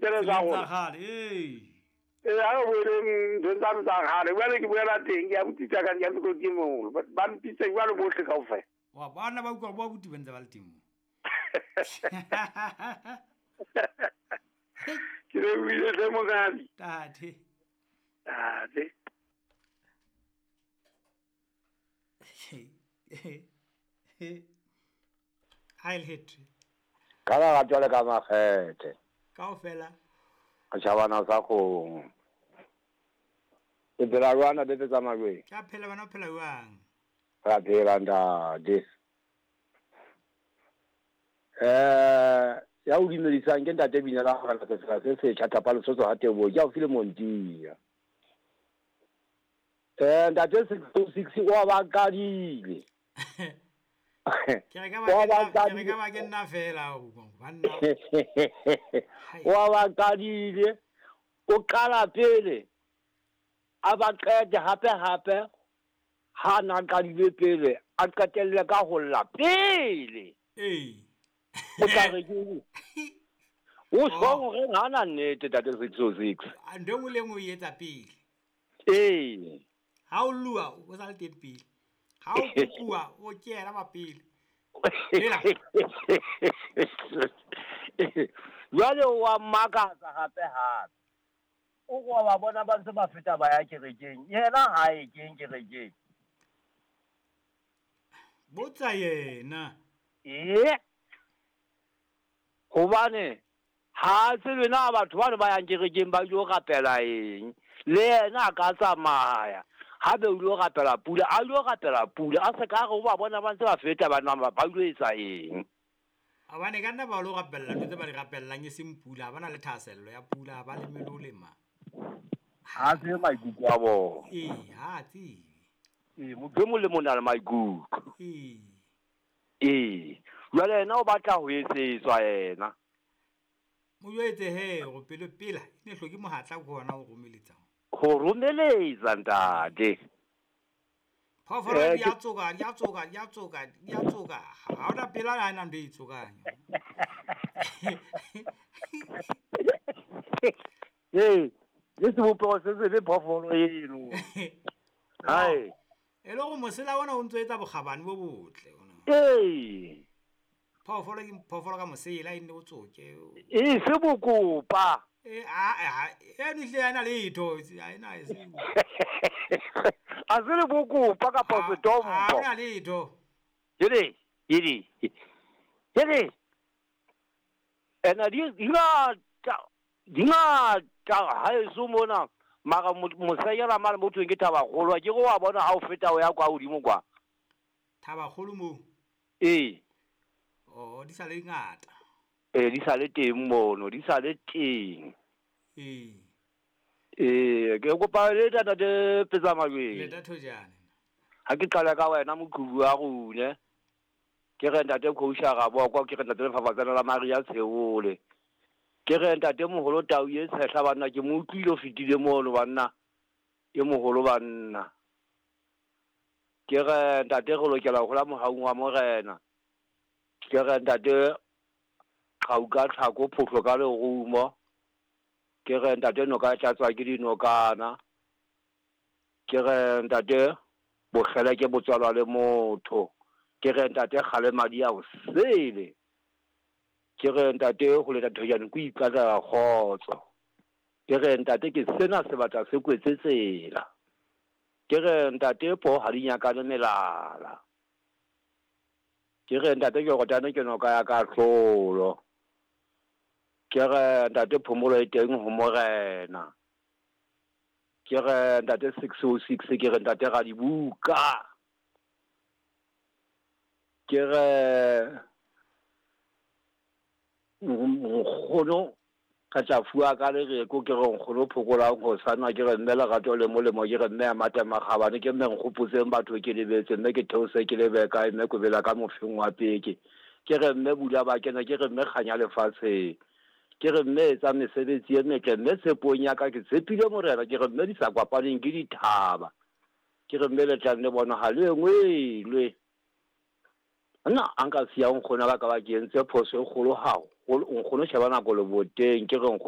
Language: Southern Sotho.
tsele tsa Tseleng tsa rona. kgale ee. Ee, ha re boeleng nthong tsane tsa kgale. Jwale ke boela teng, ke abuti tsa ka, ke abuti ke moholo. Ba mpitsa jwalo bohle kaofela. Wa bana ba utlwa bo abuti ba ntse ba le teng moo. Ke lebohile hle monghadi. Tate. Tate. Ha e le Ka lerato le ka makgethe. Kaofela. Setjhabana sa kgomo. Ke phela jwang ntate Tsamajweng? Ke a phela wena o phela jwang? Re a phela ntate. Ya o dumedisang ke ntate Binela Morena Sefela se setjha Thapa Lesotho ha Teboho ke haufi le Montia. Ntate 606 o a ba qadile. Ke re ka O a ba ba ke nna- ke re qadile. ka ba ke nna fela o banna. O a ba qadile. O qala pele. A ba qete hape hape. Ha na qadile pele, a qetelle ka ho lla pele. Ee. O tla re ke eng? O sho hore ha na nnete ntate 606. A ntho e nngwe le e nngwe o e etsa pele. Ee. Ha o lua o sa le teng pele. Ha o kopuwa o ke yena wa pele. Hela. Jwale wa mmakatsa hape hape. O wa ba bona ba ntse ba feta ba ya kerekeng. Yena ha e keng kerekeng. Botsa yena. Ee. Hobane ha tsebe na batho bane ba yang kerekeng ba ilo rapela eng. Le yena a ka tsamaya. Ha be o ilo rapela pula, a ilo rapela pula, a se ka re o ba bona ba ntse ba feta ba nwa ba ilo etsa eng. Hobane ka nna ba lo rapella ntho tse ba di rapellang e seng pula, ha ba na le thahasello ya pula, ha ba leme le ho lema. Ha tsebe maikutlo a bona. Ee, ha tsebe. Ee, motho e mong le mong o na le maikutlo. Ee. Ee. Jwale yena o batla ho etsetswa yena. Mo jwetse he hore pelo pela e ne hloke mohatla ke hona ho romeletsa. Ho romeletsa ntate. Phoofolo di a tsoka, di a tsoka, di a tsoka, di a tsoka. Ha hona pela ha ena ntho e tsokang. Ee, le sebopeho se sebe phoofolo eno. Hai. E le hore mosela ona o ntso etsa bokgabane bo botle ona. Ee. Phoofolo ke phoofolo ka mosela e nne o tsoke. E se bokopa. E a eno ehlile ha ena letho, ha ena e se. A se le bokopa kapa Ha setompo. hona letho. Jele, jele. Jele. Ena di ngata, di ngata haeso mona. Mara moseyela mane mo thweng ke Thabakgolo, ke re wa bona ha o feta o ya kwa hodimo kwa. Thabakgolo moo? Ee. Oh, di sa le ngata. Ee, di sa le teng mono, di sa le teng. Ee. Ee, ke kopa le ntate Petsamajweng. Leta thojane. Ha ke qala ka wena moqhubu wa rune. Ke re ntate Khousha Rabokwa, ke re ntate Lefafatsane la Maria Tsheole. Ke re ntate moholo Tau e tshehla banna, ke mo utlwile o fetile mono banna. E moholo banna. Ke re ntate re lokela ho hola mohaung wa morena. Ke re ntate qhau ka tlhako phofo ka lerumo. Ke re ntate noka e tlatswa ke dinokana. Ke re ntate bokgele ke botswalwa le motho. Ke re ntate kgale madi a o sele. Ke re ntate ho leta thojane ko ipatlela kgotso. Ke re ntate ke sena sebata se kwetse tsela. Ke re ntate po ha di nyakane melala. Ke re ntate Jordane ke noka ya kahlolo. Ke re ntate phomolo e teng ho morena. Ke re ntate 606, ke re ntate Radibuka. Ke re nkgono ka tla fuwa ka lereko, ke re nkgono phokolang ho sana, ke re mme lerato le molemo, ke re mme ya mata makgabane, ke mme nkgopotseng batho ke lebetse, mme ke theose ke lebe kae, mme kobela ka mofeng wa peke. Ke re mme bula ba kena, ke re mme kganya lefatsheng. Ke re mme etsa mesebetsi e metle, mme tshepong ya ka ke tshepile morena, ke re mme di sa kopaneng ke dithaba. Ke re mme le tlang le bona ha le engwelwe. Nna a nka siya nkgono ka ba ke entse phoso e kgolo haholo, nkgono sheba nako leboteng, ke re nkgono